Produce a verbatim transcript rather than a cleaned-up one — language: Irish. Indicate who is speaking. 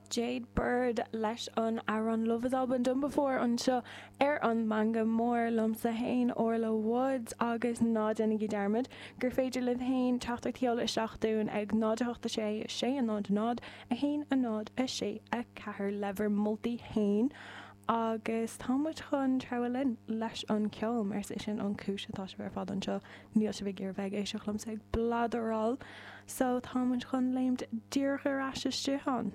Speaker 1: Jade Bird leis an amhrán Love Has All Been Done Before anseo ar an Meangadh Mór liomsa féin Orla Woods agus ná déanaigí dearmad gur féidir libh féin teachtaireacht a sheoladh isteach dúinn ag náid a hocht a sé sé a náid náid a haon a náid a sé a ceathair le bhur moltaí féin agus tá muid chun treabhadh linn leis an ceol mar is é sin an cúis atá sibh ar fad anseo níl sibh ag iarraidh bheith ag éisteacht liomsa ag bladráil so tá muid chun léimt díreach ar ais isteach ann.